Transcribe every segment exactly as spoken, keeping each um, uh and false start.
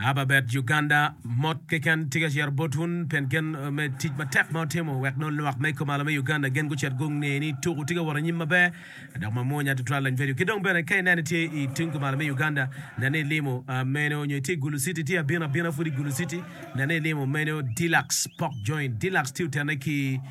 Ababet Uganda mot keken tye ka cito bot wun pien gen me tic matek ma otimo wek nongo lwak me kumalo me Uganda gen gucit gunge ni tuku tye ka wot anyim maber dok mamwonya tutwal lany vedio ki dong bene ka ineno itye i tung kumalo me Uganda nen ni ilimo meno nyo itye i Gulu City tye abino abina pud i Gulu City nen ni ilimo meno Deluxe Pork Joint Deluxe tye otene ki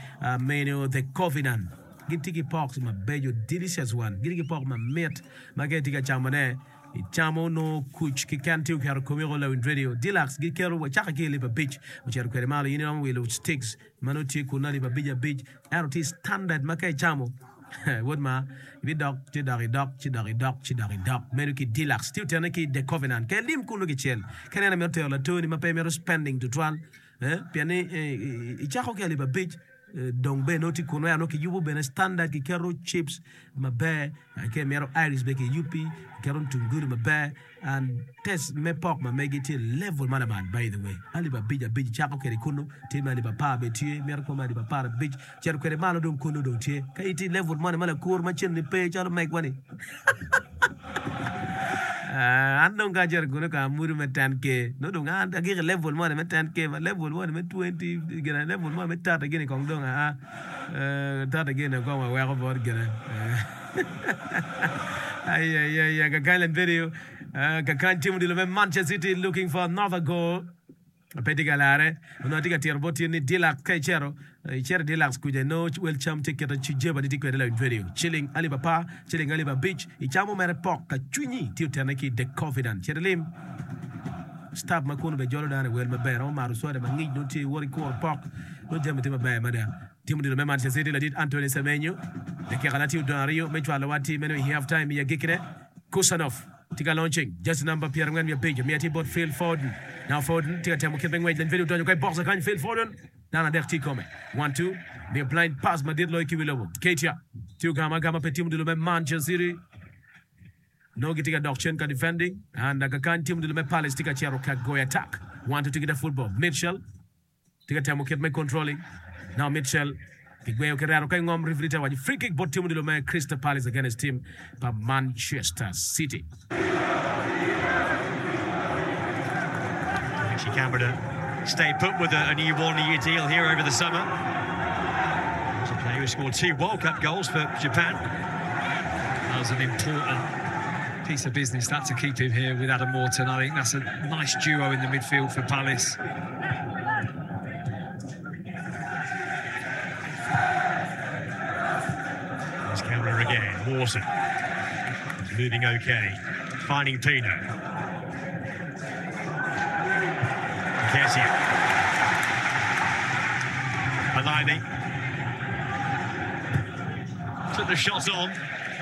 meno The Covenant gitye ki pork mabeco delicious one gitye ki pork mamit ma ka itye ka camone Icamo nongo kuc keken tye oketo komi woko lawiny radio. Deluxe giketo wacake ki alip abic ocito kwede malo. In iromo wilo sticks ma nongo tye kunu alip abic abic ento tye standard ma ka icamo wod ma ibidok ci dok idok ci dok idok ci dok idok medo ki Deluxe tye otene ki The Covenant ka ilim kunu kicel ka ineno imito tero latoni ma pe imito spending tutwal pien ni icako ki alip abic Dong bene nongo tye kunu ento nongo kiyubo bene standard kiketo chips maber ka imito iris bene kiyubi kiketo mutungulu maber and taste me pork ma megi tye level ma lamal by the way alip abic abic icako kwede kunu tye me alip apar bene tye mito kwo me alip apar abic cito kwede malo dong kunu dong tye ka itye i level moni ma lakur ma cen ni pe calo megwa ni An dong ka acito kunu ka amudo me ten K nongo dong an agiko i level moni me ten K ma level moni me twenty gine level moni me thirty gini kong dong aa thirty gini kong waweko bot gine ayayaya kakany lany video kakany team odilo me Manchester City looking for another goal. Pe tye ka larre. Onongo atye ka tito bot tyen ni Deluxe ka icito, icito i Deluxe kuca inongo wel cam tye kite Cijeba ni tye kwede lawiny radio. Ciling alip apar, ciling alip abic, icamo mere pok ka cwinyi tye otene ki The Covenant. Cit ilim staff ma kunu bene jolo dano i wel maber. Romo mato soda ma ngic nongo tye iwoto ikuro pok nongo jami tye maber mada. Tim odilo me Manchester City ladit Anthony Semenyo dakika na tye odong aryo me cwalo wa tye meno i half time i agikkine. Khusanov tye ka launching jersey namba pyerangwen wiye abic omiyo tye bot Phil Foden. Now Foden tye ka temo kit me ngwec leny pedi odonyo ka i box kany Phil Foden dano adek tye i kome. One two miyo blind pass madit loyo ki wi lobo. Keita tye ogamo agama pe tim odilo me Manchester City. Nongo gitye ka dok cen ka defending and kakany tim odilo me Palace tye ka cito ka goyo attack. One two tye ki the football. Mitchell Tye ka temo kit me controlling. Now Mitchell kigweyo ki reto ka ingom referee te waco free kick bot team odilo me Crystal Palace against team pa Manchester City. Actually, Canberra stay put with a, a new one-year deal here over the summer. He's a player who scored two World Cup goals for Japan. That was an important piece of business, that to keep him here with Adam Morton. I think that's a nice duo in the midfield for Palace. There's Cameron again. Morton is moving okay. Finding Pino. Nketiah. Fellaini. Took the shot on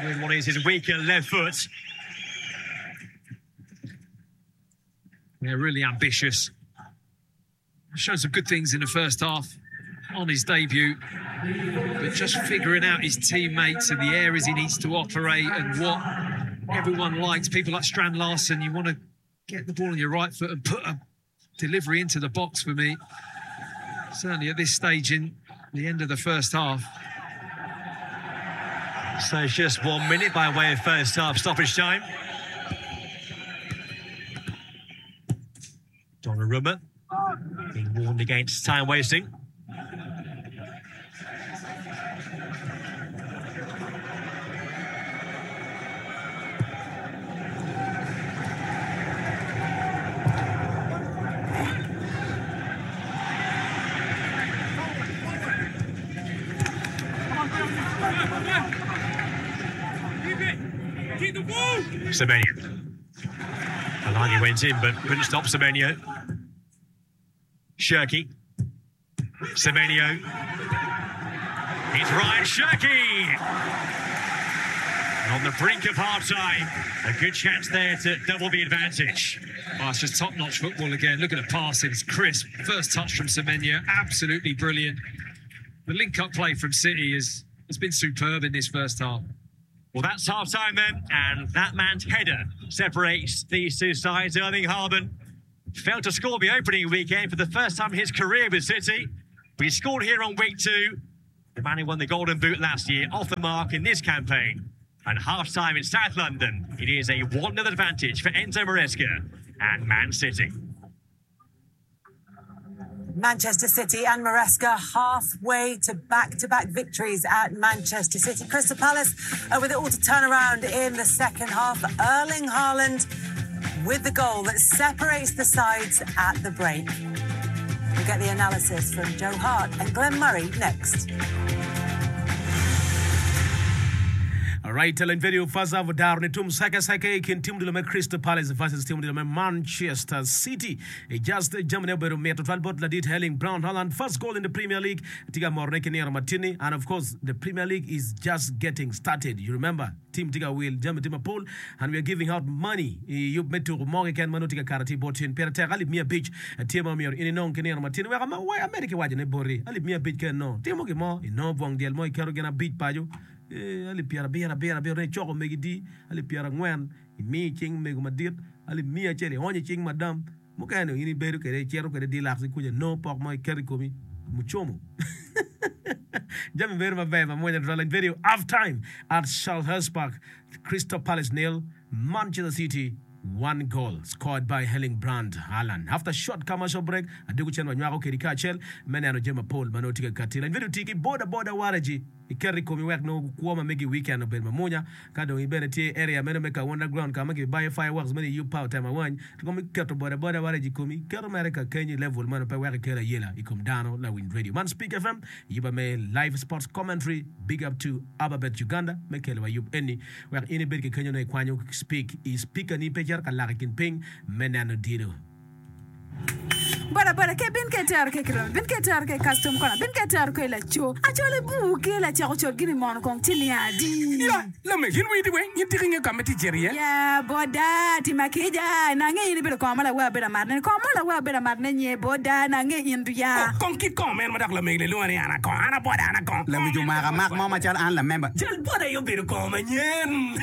with what is his weaker left foot. They're really ambitious. Showed some good things in the first half on his debut, but just figuring out his teammates and the areas he needs to operate and what everyone likes. People like Strand Larsen, you want to get the ball on your right foot and put a delivery into the box for me. Certainly at this stage in the end of the first half. So it's just one minute by way of first half stoppage time. Donnarumma being warned against time wasting. Semenyo. Fellaini went in but couldn't stop Semenyo. Cherki. Semenyo. It's Rayan Cherki! And on the brink of half-time, a good chance there to double the advantage. Oh, it's just top-notch football again. Look at the passing, it's crisp. First touch from Semenyo, absolutely brilliant. The link-up play from City is, has been superb in this first half. Well, that's half-time then, and that man's header separates these two sides. Erling Haaland failed to score the opening weekend for the first time in his career with City, but he scored here on week two. The man who won the Golden Boot last year, off the mark in this campaign. And half-time in South London, it is a one nil advantage for Enzo Maresca and Man City. Manchester City and Maresca halfway to back-to-back victories at Manchester City. Crystal Palace uh, with it all to turn around in the second half. Erling Haaland with the goal that separates the sides at the break. We'll get the analysis from Joe Hart and Glenn Murray next. Alright, lawiny radio first half odaro ni tum seke seke i kin tim odilo me Crystal Palace versus tim odilo me Manchester City. I just jamine obedo mit tutwal bot ladit Erling Braut Haaland first goal in the Premier League tye ka morone ki nino matini and of course the Premier League is just getting started. You remember team tye ka wil jami tye mapol and we are giving out money i yub me tuko mo keken ma nongo tye ka kato tye bot tin pire tek alip miya abic tye ma omyero in inong ki nino matini wek ama wek amedi ki waco ne boti alip miya abic kene no timo gin mo inongo bwong dyel mo iketo gin abic paco Eh, alip pyerabiro abiro abiro ne icoko megi di alip pyerangwen imiyo i cing mego madit alip miya acel ionyo i cing madam mukene in ibedo kwede icito kwede dilaksi kuca nongo pok mo iketo i komi mucomo jami bedo maber mamwonya tutwal lany video half time at Selhurst Park Crystal Palace nil Manchester City one goal scored by Erling Braut Haaland after short commercial break adugo cen wanywako kedi kacel me neno jami mapol ma nongo tye ka kati lany video tye ki boda boda waragi iketo i komi wek nongo kwo ma megi weekend obed mamwonya ka dong ibene tye area meno me Kawanda ground ka ma kibayo fireworks meno iyub pa otemo awany komi keto boda boda waragi i komi keto mere ka kenyo i level meno pe wek ikel ayela i kom dano lawiny radio man Speak F M yuba me live sports commentary. Big up to Ababet Uganda me kelo wa yub eni wek in ibed ki kenyo no ikwanyo speak i speaker ni pe cito ka lak i kin piny me neno dilo. Boda boda ke bin ke tero ke kiromi bin ke tero ke custom kona bin ke tero ke laco acole bu ke lacako col gini mono kong ciling adi. Ya, lamego, in widi weng, in tika inge ka ma tye cito iye? Ya boda tima kica nange in ibedo kongo ma lawe abedo amatne kongo mo lawe abedo amatne nye boda nange in duya. Oh, kong kit kongo meno ma dok lamego ni lwongo ni an akongo, an aboda an akongo. Lawic omako amak mo macalo an lamemba. Jal boda aye obedo kongo manyen.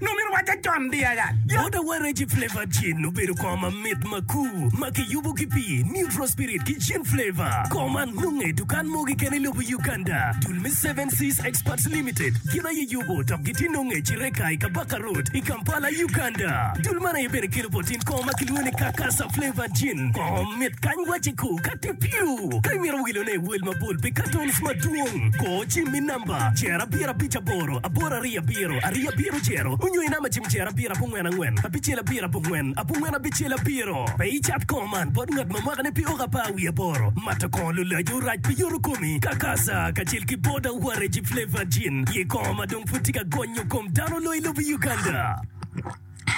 Nongo myero wacca con di aya. Boda Waragi Flavored Gin obedo kongo mamit makur ma kiyubo ki pii, neutral spirit ki gin flavor. Kongo man nonge i dukan mo keken i lobo Uganda. Dul me Seven Seas Experts Limited gin aye yubo dok gitye nonge i Kireka i Kabaka Road i Kampala, Uganda. Dul man aye bene kelo bot in kongo ma kilwongo ni Kakasa Flavored Gin. Kongo mit kany waci ku ka tye piu. Ka imito wilone i wel mapol pi cartons madwong, kor cim i namba cer abiro abic aboro aboro aryo abiro aryo abiro cero onyo i namba cim cer abiro abongwen angwen abicel abiro abongwen abongwen abicel abiro. Pe icat kongo man bot ngat ma mwakane pi oko apar wiye aboro. Mato kongo lulaco rac pi yoto komi. Kakasa kacel ki Boda Waragi Flavored Gin ye kongo ma dong pud tye ka gonyo kom dano loyo i lobo Uganda.